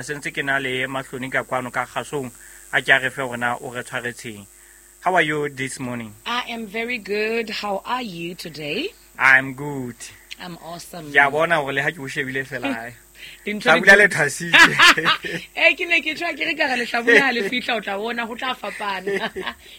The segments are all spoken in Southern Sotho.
Sentse ke na le Mahloni ka kwano ka kgasong a ke a re fe hore na o re tshwaretseng. How are you this morning? I am very good. How are you today? I'm good. I'm awesome. Ke a bona hore le ha ke o shebile fela hae. Dintho di Hlabula le thwasitse. Eh ke ne ke tshwa ke re ka re lehlabula ha le fihla o tla bona ho tla fapana.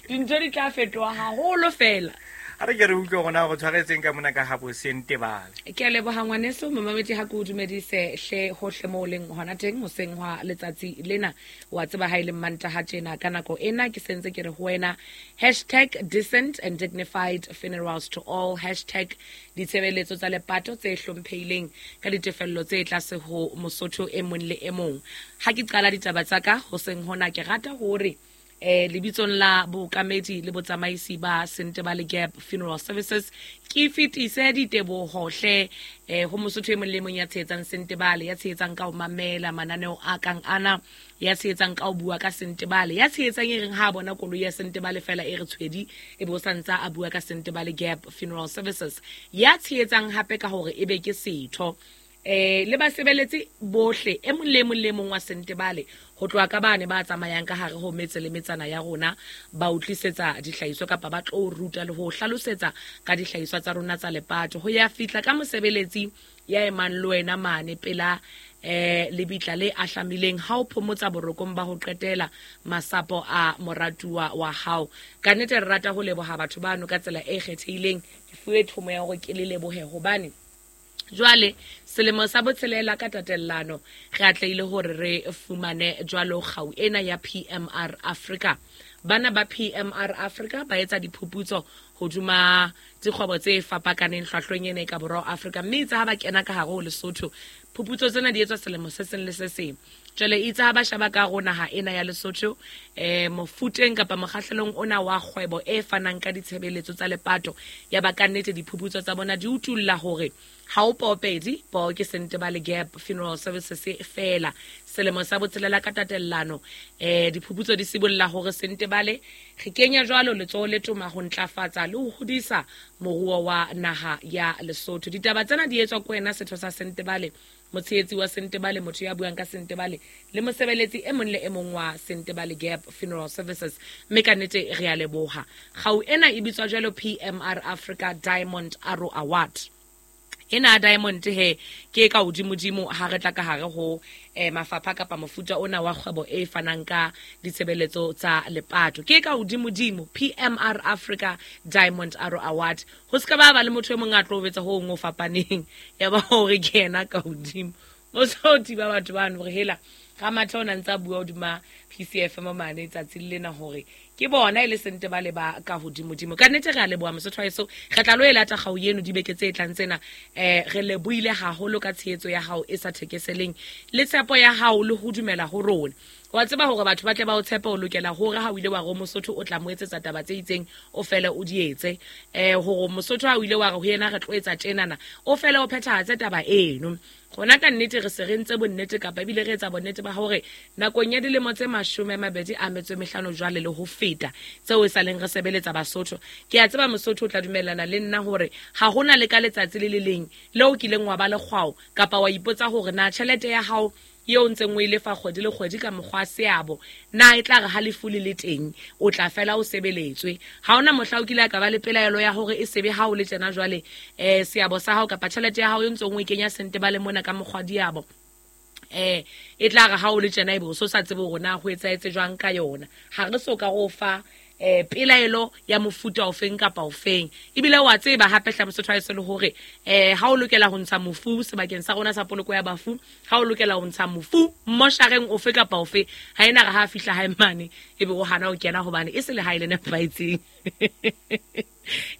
Dintho di tla fetoha haholo fela. A re ke re utlwe hore na o re tshwaretseng ka mona ka habo Sentebale. Ke a leboha ngwaneso momamedi ha ke o dumedise hle hohle moo o leng hona teng hoseng hwa letsatsi lena. Wa tseba ha e le Mmantaha tjena ka nako ena ke sentse ke re ho wena hashtag decent and dignified funerals to all, hashtag ditshebeletso tsa lepato tse hlomphehileng ka ditefello tse tlase ho Mosotho e mong le e mong. Ha ke qala ditaba tsa ka hoseng hona ke rata hore lebitsong la bookamedi le botsamaisi ba Sentebale Gap Funeral Services ke fetise diteboho hle ho Mosotho e mong le mong ya tshehetsang Sentebale, ya tshehetsang ka ho mamela mananeo a kang ana, ya tshehetsang ka ho bua ka Sentebale, ya tshehetsang e reng ha a bona koloi ya Sentebale fela e re tshwedi e be o sa ntsa a bua ka Sentebale Gap Funeral Services, ya tshehetsang hape ka hore e be ke setho le basebeletsi bohle e mong le e mong le e mong wa Sentebale ho tloha ka bane ba tsamayang ka hare ho metse le metsana ya rona ba o tlisetsa dihlahiswa kapa ba tlo ruta le ho hlalosetsa ka dihlahiswa tsa rona tsa lepato ho ya fihla ka mosebeletsi ya emang le wena mane pela lebitla le ahlamileng ha o phomotsa borokong ba ho qetela masapo a moratuwa wa hao. Ka nnete re rata ho leboha batho bano ka tsela e kgethehileng. Ke fuwe thomo ya hore ke le lebohe hobane jwale selemo sa botshelela ka tatellano re atlehile hore re fumane jwalo kgau ena ya PMR Africa. Bana ba PMR Africa ba etsa diphuputso hodima dikgwebo tse fapakaneng hlwahlweng ena e ka borwa Afrika, mme itse ha ba kena ka hare ho Lesotho phuputso tsena di etswa selemo se seng le se seng. Jwale itse ha ba sheba ka ho naha ena ya Lesotho mofuteng kapa mokgahlelong ona wa kgwebo e fanang ka ditshebeletso tsa lepato, ya ba ka nnete diphuputso tsa bona di utulla hore ha o poopedi po ke Sentebale Gap Funeral Services fela. Selemo sa botshelela ka tatellano diphuputso di sibolla hore Sentebale re kenya jwalo letsoho le toma ho ntlafatsa le ho hodisa moruo wa naha ya Lesotho. Ditaba tsena di etswa ke wena setho sa Sentebale, motshehetsi wa Sentebale, motho ya buang ka Sentebale le mosebeletsi e mong le e mong wa Sentebale Gap Funeral Services. Mme ka nnete re a leboha. Kgau ena e bitswa jwalo PMR Africa Diamond Arrow Award. Ena Diamond he ke ka hodimodimo ha re tla ka hare ho mafapha kapa mofuta ona wa kgwebo e fanang ka ditshebeletso tsa lepato. Ke ka hodimodimo PMR Africa Diamond Arrow Award. Ho ska ba ba le motho e mong a tlo betsa ho ngwe o fapaneng ya ba hore ke yena ka hodimo. O so thiba batho bano hore hela Ramathe o na ntse a bua hodima PCFM mane tsatsing lena hore ke bona e le Sentebale ba ka hodimodimo. Ka nnete re a leboha Mosotho wa heso, re tla lo e lata kgau eno dibeke tse tlang tsena. Re lebohile haholo ka tshehetso ya hao e sa thekeseleng le tshepo ya hao le ho dumela ho rona. Wa tseba hore batho ba tle ba o tshepe, o lokela hore ha o ile wa re Mosotho o tla mo etsetsa taba tse itseng, o fele o di etse. Hore Mosotho ha o ile wa re ho yena re tlo etsa tjenana, o fele o phethahatse taba eno. Rona ka nnete re se re ntse bonnete kapa ebile re etsa bonnete ba hore nakong ya dilemo tse 25 jwale le ho feta tseo e sa leng re sebeletsa Basotho. Ke a tseba Mosotho o tla dumellana le nna hore ha hona le ka letsatsi le le leng leo o kileng wa ba le kgwao kapa wa ipotsa hore na tjhelete ya hao eo ntseng o e lefa kgwedi le kgwedi ka mokgwa seabo na e tla re ha lefu le le teng o tla fela o sebeletswe. Ha hona mohla o kile a ka ba le pelaelo ya hore e sebe ha o le tjena jwale seabo sa hao kapa tjhelete ya hao e ntseng o e kenya Sentebale mona ka mokgwa diabo e tla re ha o le tjena ebe o so sa tsebe hore na ho etsahetse jwang ka yona. Ha re so ka go fa pelaelo ya mofuta ofeng kapa ofeng. Ebile wa tseba hape hle Mosotho wa heso le hore ha o lokela ho ntsha mofu sebakeng sa rona sa poloko ya bafu, ha o lokela ho ntsha mofu moshareng ofe kapa ofe, ha ena re ha fihla hae mane ebe o hana ho kena hobane e se lehae le nepahetseng.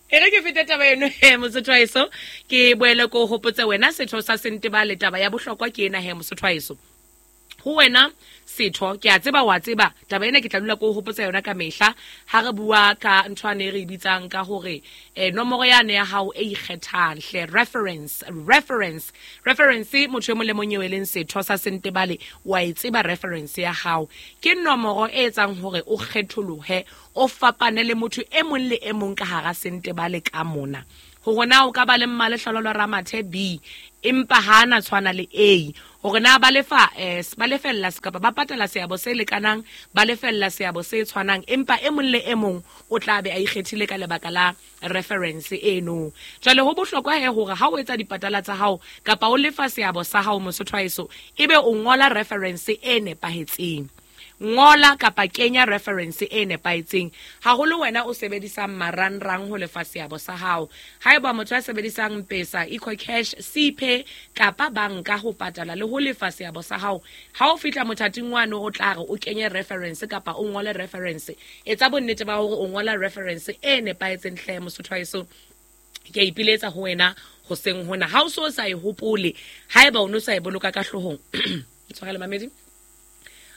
E re ke fete taba eno he Mosotho wa heso, ke boele ko hopotse wena setho sa Sentebale taba ya bohlokwa ke ena he Mosotho wa heso. Ho wena setho, ke a tseba wa tseba taba ena, ke tla dula ke o hopotsa yona ka mehla ha re bua ka ntho ane re e bitsang ka hore nomoro yane ya hao e ikgethang hle, reference, reference, reference. Motho e mong le mong eo e leng setho sa Sentebale wa e tseba reference ya hao. Ke nomoro e etsang hore o kgetholohe, o fapane le motho e mong le e mong ka hara Sentebale ka mona. Hore na o ka ba le Mmalehlohonolo Ramathe B, empa ha na tshwana le A. Hore na ba lefa ba lefella kapa ba patala seabo se lekanang, ba lefella seabo se tshwanang, empa e mong le e mong o tla be a ikgethile ka lebaka la reference eno. Jwale ho bohlokwa he hore ha o etsa dipatala tsa hao kapa o lefa seabo sa hao Mosotho wa heso, ebe o ngola reference e nepahetseng. Ngola kapa kenya reference e nepahetseng, haholo wena o sebedisang marangrang ho lefa seabo sa hao. Haeba motho a sebedisang Mpesa, EcoCash, Cpay kapa banka ho patala le ho lefa seabo sa hao, ha o fihla mothating wane o tla re o kenye reference kapa o ngole reference, etsa bonnete ba hore o ngola reference e nepahetseng hle Mosotho wa heso. Ke a ipiletsa ho wena hoseng hona. Ha o so sa e hopole, haeba o no sa e boloka ka hloohong, tshwarele mamedi,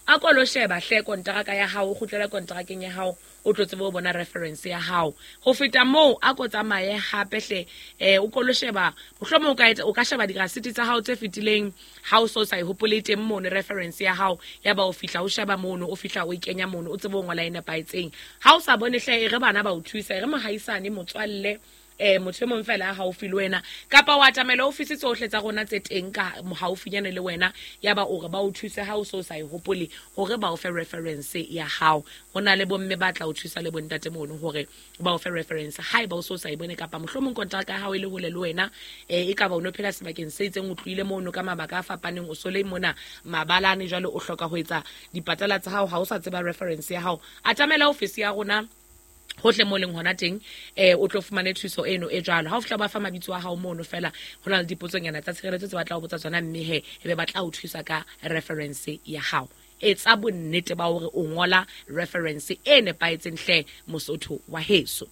a ko lo sheba hle kontraka ya hao, o kgutlele kontrakeng ya hao, o tlo tsebe ho bona reference ya hao. Ho feta moo, a ko tsamaye hape hle, o ko lo sheba, mohlomong o ka etsa, o ka sheba dirasiti tsa hao tse fetileng, ha o so sa e hopole teng mono reference ya hao, ya ba o fihla o sheba mono, o fihla o e kenya mono, o tsebe ho ngola e nepahetseng. Ha o sa bone hle, e re bana ba o thusa, e re mohaisane, motswalle, motho e mong fela a haufi le wena, kapa wa atamela ofisi tsohle tsa rona tse teng ka haufinyane le wena, ya ba o re ba o thuse ha o so sa e hopole hore ba o fe reference ya hao. Ho na le bomme ba tla o thusa le bontate mono hore ba o fe reference haeba o so sa e bone, kapa mohlomong kontraka ya hao e le hole le wena, e ka ba o no phela sebakeng se itseng, o tlohile mono ka mabaka a fapaneng, o so le mona mabalane, jwale o hloka ho etsa dipatala tsa hao, ha o sa tseba reference ya hao, atamela ofisi ya rona hohle mo leng hona teng, o tlo fumane thuso eno e jwalo. Ha o fihla ba fa mabitso a hao mono fela, ho na le dipotsonyana tsa tshireletso tse batla ho botsa tsona, mme he ebe ba tla o thusa ka reference ya hao. Etsa bonnete ba hore o ngola reference e nepahetseng hle Mosotho wa heso.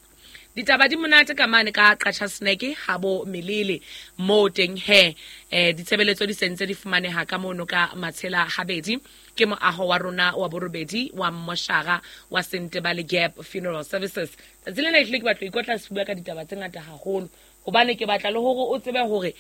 Ditaba di monate ka mane ka Qacha Snack ha bo Melele mo teng he, ditshebeletso di sentse di fumaneha ka mono ka Matshela Habedi, ke moaho wa rona wa borobedi wa Mmoshara wa Sentebale Gap Funeral Services. Tsatsi lena ehlile ke batla ho ikotla sefuba ka ditaba tse ngata haholo, hobane ke batla le hore o tsebe hore,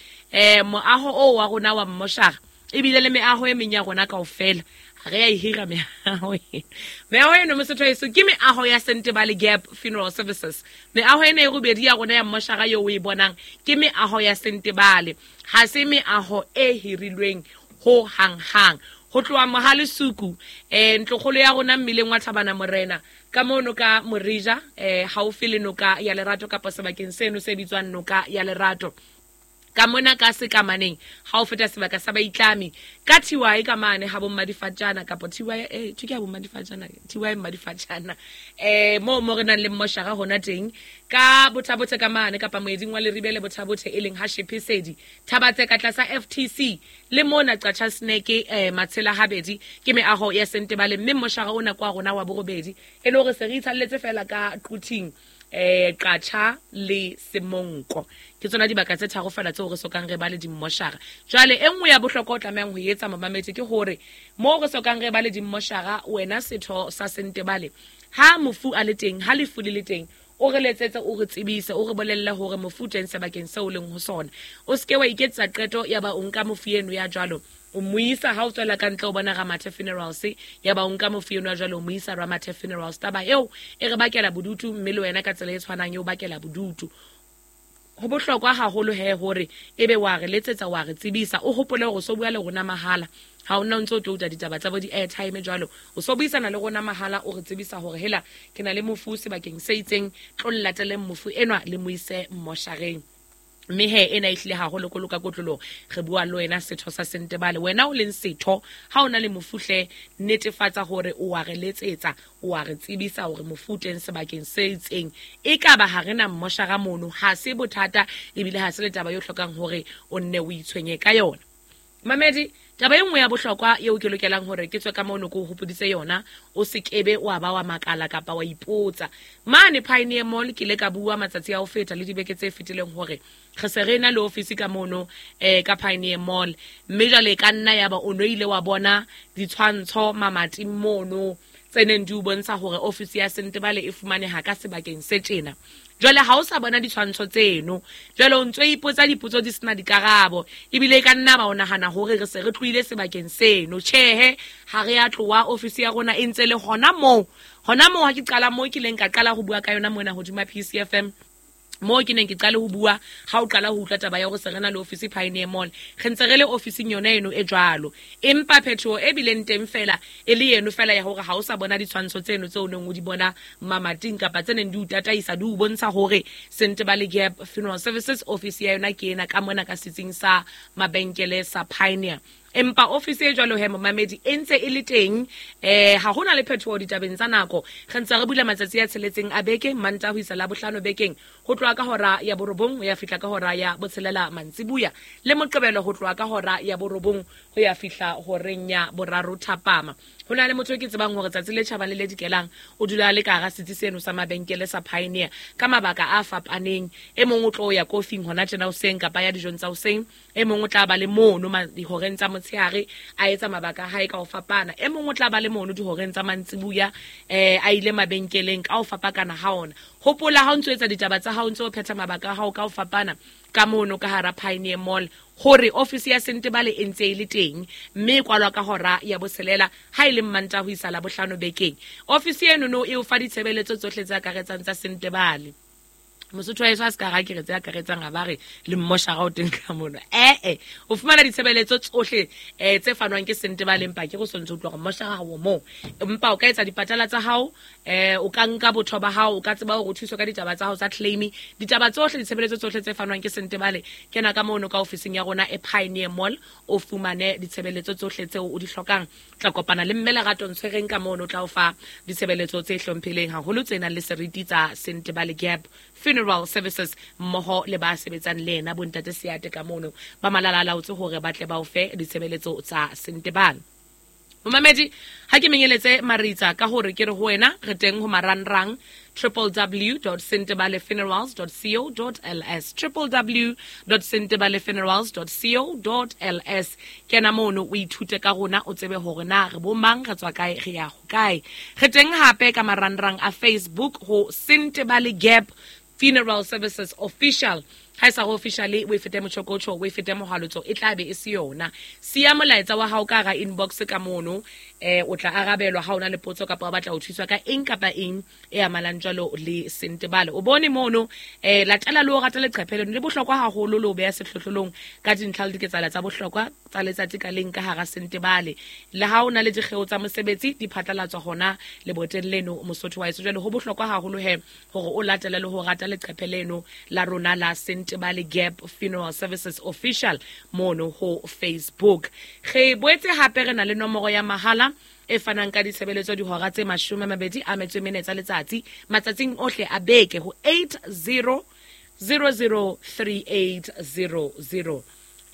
moaho oo wa rona wa Mmoshara ebile le meaho e meng ya rona kaofela ha re a e hira meaho eno. Meaho eno Mosotho heso ke meaho ya Sentebale Gap Funeral Services. Meaho ena e robedi ya rona ya Mmoshara eo o e bonang ke meaho ya Sentebale, ha se meaho e hirilweng ho hang-hang. Ho tloha Mohalesuku, ntlokgolo ya rona mmileng wa Thabana Morena, ka mono ka Morija, haufi le noka ya Lerato kapa sebakeng seno se bitswang noka ya Lerato. Ka mona ka sekamaneng, ha o feta sebaka sa baitlami, ka TY ka mane ha bo Mmadifatjana, kapa TY, thwe ke ha bo Mmadifatjana, TY Mmadifatjana, moo mo re nang le mmoshara hona teng, ka Bothabothe ka mane, kapa moeding wa Leribe le Bothabothe e leng ha Shephesedi, Thabatse ka tlasa FTC, le mona Qacha Snack, Matshela Habedi, ke meaho ya Sentebale, mme mmoshara ona kwa rona wa borobedi, e le hore se re itshalletse fela ka Quthing, Qacha le Semonko. Ke tsona dibaka tse tharo fela tseo re sokang re ba le dimmoshara. Jwale e nngwe ya bohlokwa o tlamehang ho etsa momamedi ke hore moo re sokang re ba le dimmoshara, wena setho sa Sentebale, ha mofu a le teng, ha lefu le le teng, o re letsetse, o re tsebise, o re bolelle hore mofu teng sebakeng seo o leng ho sona. O seke wa iketsetsa qeto ya ba o nka mofu eno ya jwalo, o mo isa ha o tswela ka ntle o bona Ramathe Funerals, ya ba o nka mofu eno ya jwalo o mo isa Ramathe Funerals. Taba eo e re bakela bodutu, mme le wena ka tsela e tshwanang e o bakela bodutu. Ho bohlokwa haholo he hore ebe wa re letsetsa, wa re tsebisa, o hopole hore o so bua le rona mahala. Ha o nna o ntso o tlo utlwa ditaba tsa bo di-airtime jwalo, o so buisana le rona mahala, o re tsebisa hore hela ke na le mofu sebakeng se itseng, tlo llateleng mofu enwa le mo ise mmoshareng. Mme he ena e hlile haholo kolo ka kotloloho, re bua le wena setho sa Sentebale, wena o leng setho, ha o na le mofu hle, netefatsa hore o wa re letsetsa, o wa re tsebisa hore mofu teng sebakeng se itseng. E ka ba ha re na mmoshara mono, ha se bothata, ebile ha se le taba e hlokang hore o nne o itshwenye ka yona. Mamedi, taba e nngwe ya bohlokwa eo ke lokelang hore ke tswe ka mono ke o hopoditse yona, o se kebe wa ba wa makala kapa wa ipotsa. Mane Pioneer Mall ke ile ka bua matsatsi a ho feta le dibeke tse fetileng hore re se re na le ofisi ka mono, ka Pioneer Mall, mme jwale e ka nna ya ba o no ile wa bona ditshwantsho mamating mono tse neng di o bontsha hore ofisi ya Sentebale e fumaneha ka sebakeng se tjena. Jwale ha o sa bona ditshwantsho tseno, jwale o ntso ipotsa dipotso di sena dikarabo, ebile e ka nna ba o nahana hore re se re tlohile sebakeng seno. Tjhehe, ha re a tloha, ofisi ya rona e ntse le hona moo. Hona moo ha ke qala moo ke ileng ka qala ho bua ka yona mona hodima PCFM. Moo ke neng ke qale ho bua ha o qala ho utlwa taba ya hore se re na le ofisi Pioneer Mall, re ntse re le ofising yona eno e jwalo, empa phetoho e bileng teng fela e le eno fela ya hore ha o sa bona ditshwantsho tseno tseo o neng o di bona mamating kapa tse neng di o tataisa di o bontsha hore Sentebale Gap Funeral Services ofisi ya yona ke ena ka mona ka setsing sa mabenkele sa Pioneer. Empa ofisi e jwalo he momamedi e ntse e le teng, ha hona le phetoho ditabeng tsa nako. Re ntse re bula matsatsi a tsheletseng a beke, Mantaha ho isa Labohlano bekeng, ho tloha ka hora ya borobong ho ya fihla ka hora ya botshelela mantsibuya, le Moqebelo ho tloha ka hora ya borobong ho ya fihla horeng ya boraro thapama. Ho na le motho e ke tsebang hore tsatsi le tjhabang le le dikelang o dula a le ka hara setsi seno sa mabenkele sa Pioneer ka mabaka a fapaneng. E mong o tlo ya kofing hona tjena hoseng kapa ya dijong tsa hoseng, e mong o tla ba le mono dihoreng tsa motshehare a etsa mabaka a hae ka ho fapana, e mong o tla ba le mono dihoreng tsa mantsibuya, a ile mabenkeleng ka ho fapakana ha ona. Hopola ha o ntso etsa ditaba tsa hao, o ntso phetha mabaka a hao ka ho fapana ka mono ka hara Pioneer Mall, hore ofisi ya Sentebale e ntse e le teng mme e kwalwa ka hora ya botshelela ha e le Mmantaha ho isa Labohlano bekeng. Ofisi eno no e o fa ditshebeletso tsohle tse akaretsang tsa Sentebale. Mosotho wa heso a se ka ra ke re tse akaretsang ha ba re le mmoshara o teng ka mono. Ee, o fumana ditshebeletso tsohle tse fanwang ke Sentebale, empa ke go sontse utlwa gore mmoshara ha o moo. Empa o ka etsa dipatala tsa hao, o ka nka botho ba hao, o ka tseba hore o thuswe ka ditaba tsa hao tsa claim, ditaba tsohle, ditshebeletso tsohle tse fanwang ke Sentebale. Kena ka mono ka ofising ya rona e Pioneer Mall, o fumane ditshebeletso tsohle tseo o di hlokang. Tla kopana le mme Lerato Ntshwereng ka mono, o tla o fa ditshebeletso tse hlomphileng haholo tse nang le seriti tsa Sentebale Gap Funeral Services mmoho le ba sebetsang le yena bontate Seate ka mono ba malala a laotse hore ba tle ba o fe ditshebeletso tsa Sentebale. Momamedi, ha ke menyeletse maritsa ka hore ke re ho wena re teng ho marangrang www.sentebalefunerals.co.ls, www.sentebalefunerals.co.ls. Kena mono o ithute ka rona, o tsebe hore na re bo mang, re tswa kae, re ya hokae. Re teng hape ka marangrang a Facebook ho Sentebale Gap Funeral Services Official. Ha e sa go officially, o e fete motjhokotjho, o e fete mohalotso, e tla be e se yona. Siya molaetsa wa hao ka hara inbox ka mono, o tla arabelwa ha o na le potso kapa o batla ho thuswa ka eng kapa eng e amanang jwalo le Sentebale. O bone mono, latela le o rata leqephe leno, le bohlokwa haholo le o beha sehlohlolong ka dintlha le diketsahalo tsa bohlokwa tsa letsatsi ka leng ka hara Sentebale. Le ha o na le dikgeo tsa mosebetsi, di phatlalatswa hona leboteng leno Mosotho wa heso. Jwale ho bohlokwa haholo he hore o latele le ho rata leqephe leno la rona la Sentebale Gap Funeral Services Official mono ho Facebook. Re boetse hape re na le nomoro ya mahala e fanang ka ditshebeletso dihora tse 24 tsa letsatsi matsatsing ohle a beke ho 80003800,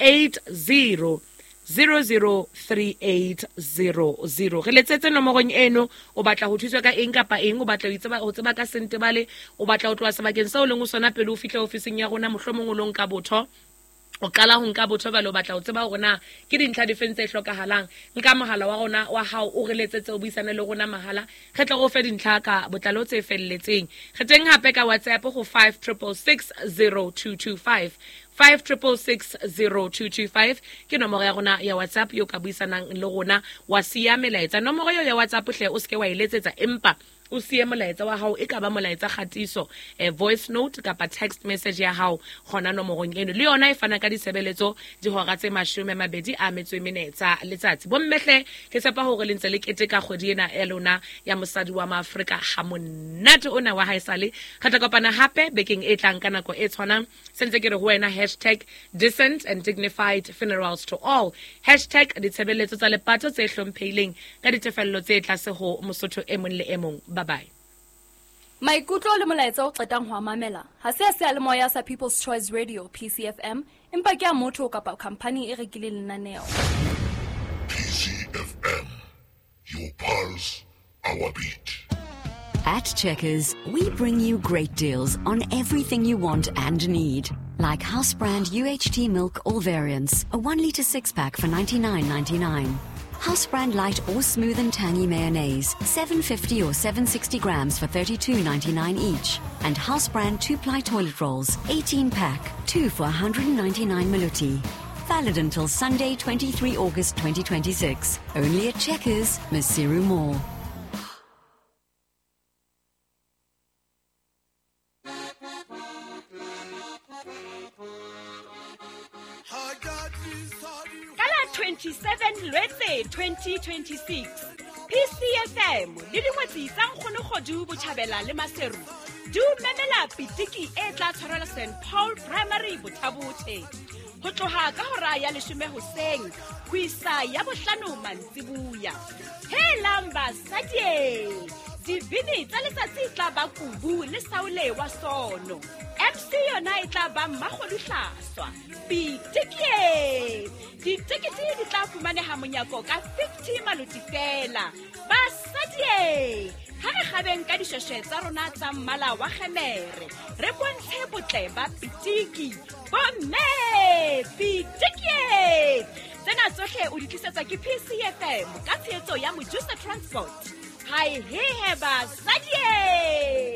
80003800. Re letsetse nomorong eno, o batla ho thuswa ka eng kapa eng, o batla ho tseba ka Sentebale, o batla ho tloha sebakeng seo o leng ho sona pele o fihla ofising ya rona, mohlomong o lo nka botho, o qala ho nka botho jwale o batla ho tseba hore na ke dintlha difeng tse hlokahalang. Nka mohala wa rona wa hao o re letsetse, o buisane le rona mahala, re tle re o fe dintlha ka botlalo tse felletseng. Re teng hape ka WhatsApp ho 56660225, 56660225 ke nomoro ya rona ya WhatsApp eo ka buisanang le rona wa siya melaetsa. Nomoro eo ya WhatsApp hle o seke wa e letsetsa, empa o siye molaetsa wa hao, e ka ba molaetsa kgatiso, voice note kapa text message ya hao hona nomorong eno. Le yona e fana ka ditshebeletso dihora tse 24 tsa letsatsi. Bommehle, ke tshepa hore le ntse le keteka kgwedi ena ya lona ya mosadi wa Maafrika ha monate ona wa haesale. Re tla kopana hape bekeng e tlang ka nako e tshwanang. Sentse ke re ho wena hashtag decent and dignified funerals to all, hashtag ditshebeletso tsa lepato tse hlomphehileng ka ditefello tse tlase ho Mosotho e mong le e mong. Bye-bye. Maikutlo le molaetsa o qetang ho a mamela ha se a seyalemoya sa People's Choice Radio PCFM, empa ke a motho kapa khampani e rekileng lenaneo. PCFM, your pulse, our beat. At Checkers, we bring you great deals on everything you want and need. Like house brand UHT milk, all variants, a 1 litre 6-pack for $99.99. House brand light or smooth and tangy mayonnaise, 750 or 760 grams for $32.99 each. And house brand 2-ply toilet rolls, 18-pack, 2 for 199 maluti. Valid until Sunday, 23 August 2026. Only at Checkers, Maseru Mall. Tlhakole 2026, PCFM le dingwetsi tsa Nkgono Kgodu Botjhabela le Maseru di o memela pitiki e tla tshwarelwa St Paul Primary Bothabothe ho tloha ka hora ya 10 hoseng ho isa ya 5 mantsibuya. Helang basadi, dibini tsa letsatsi e tla ba Kubu le Saule wa Sono. MC yona e tla ba Mmakgodu Hlaswa. Pitikie! Ditekete di tla fumaneha monyako ka 50 maloti fela. Basadi, ha re kgabeng ka dishweshwe tsa rona tsa mmala wa kgemere, re bontshe botle ba pitiki. Bomme, pitikie! Tsena tsohle o di tlisetswa ke PCFM ka tshehetso ya Mojusa Transport. Hai hehe basadi!